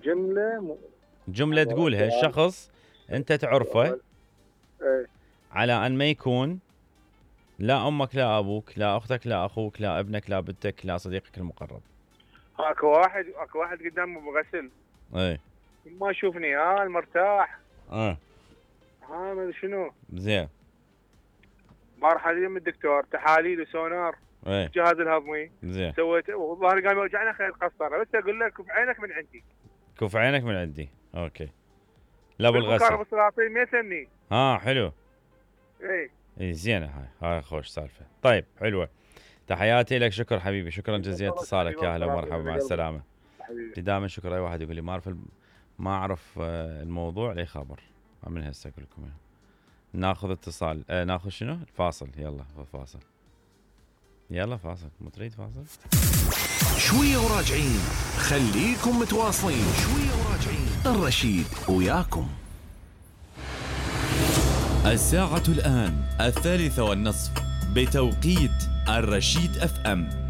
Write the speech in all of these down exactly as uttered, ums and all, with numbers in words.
جملة م... جملة تقولها الشخص أنت تعرفه ايه على أن ما يكون لا أمك لا أبوك لا أختك لا أخوك لا ابنك لا بنتك لا صديقك المقرب. اكو واحد اكو واحد قدامي بغسل ايه ما يشوفني ها المرتاح اه ها ما شنو زين بارح اليوم الدكتور تحاليل وسونار ايه الجهاز الهضمي زين سويت والظهر قام يوجعني خليت قسطره بس اقول لك كف عينك من عندي كف عينك من عندي اوكي لا بالغسل ابو السلاطين ما يسمني ها حلو ايه اي زينه هاي هاي خوش سالفه. طيب حلوه تحياتي لك شكرا حبيبي شكرا جزيلا اتصالك يا اهلا ومرحبا مع السلامه. دائما شكرا اي واحد يقول لي ما اعرف ما اعرف الموضوع لي خبر من هسه اقول لكم ناخذ اتصال آه ناخذ شنو الفاصل يلا فاصل يلا فاصل مو تريد فاصل شويه وراجعين خليكم متواصلين شويه وراجعين الرشيد وياكم. الساعة الآن الثالثة والنصف بتوقيت الرشيد اف ام.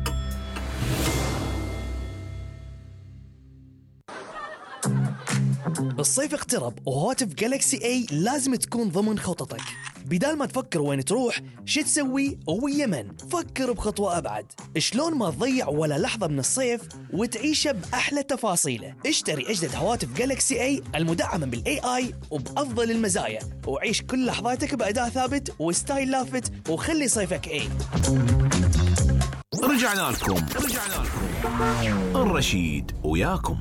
الصيف اقترب وهواتف جالكسي اي لازم تكون ضمن خططك. بدال ما تفكر وين تروح شو تسوي ويا من، فكر بخطوة أبعد. شلون ما تضيع ولا لحظة من الصيف وتعيشه بأحلى تفاصيله. اشتري أجدد هواتف جالكسي اي المدعمة بالاي اي وبأفضل المزايا وعيش كل لحظاتك بأداء ثابت وستايل لافت وخلي صيفك اي. رجعنا لكم رجعنا لكم الرشيد وياكم.